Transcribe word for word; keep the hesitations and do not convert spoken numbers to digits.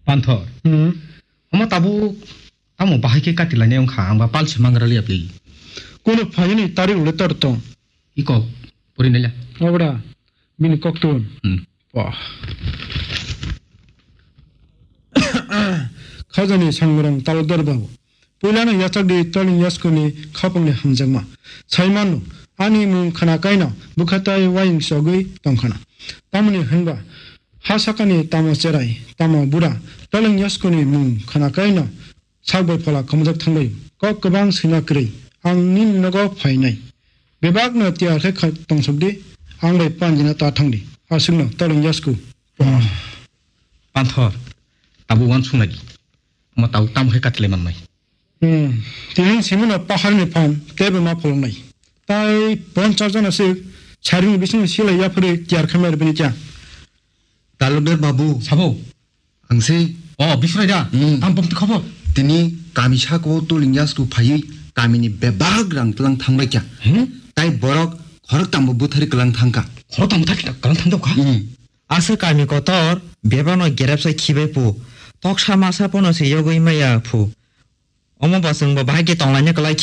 Panthor. Hmm. Omo tabuk tamo bahai khe kati lainai wngkha, ang ba pal se mangra liya pli. Kono phaini tarik le tor tong. Iko, pori naila. Obra, bini koktun. Hmm. Wah. Khajani Sangmurang talodar babu. Puilano yachak di Toling Yaskuni khapangni hamjakma. Saimano, ani mung khana kaino bwkhatai wayung sogwi tongkhana. Tamoni hwnba, ha sakani tamo cherai, tamo bura, Toling Yaskuni mung khana kaino sak bai phola khomjak thangbai. Kok kwbang swina kwrwi, ang nini nogo phainai. Bebakno tiyar khe kha-, tongsok di, ang bai panjina ta thang di. Aswkno Toling Yasku. Panthor, tabuk uansuk nai di. Omo tabuk tamo khe kati lai mannai. Hmm. Tini simino paharni phan teibo ma pholongnai. Tai ponchas jona se sarini bisingni silai yaphari tiyar khamai rwbini kya? Talukdar babu. Sabo. Ang se. O, Biswrai da. Hmm. Tam pokti khobor. Tini kami sako Toling Yasku phaiwi kamini bebak rang tlang thangbai kya. Hmm? Tai borok khorok tambo buthari klang thangka. Khorok tambo thari klang thangka? Hmm. Asa kami kotor bebakno gerepsa khibai pu. Toksa masa pono se yogwi maya phu. Omo bo chwngbo bahai khe tonglaina kwlai.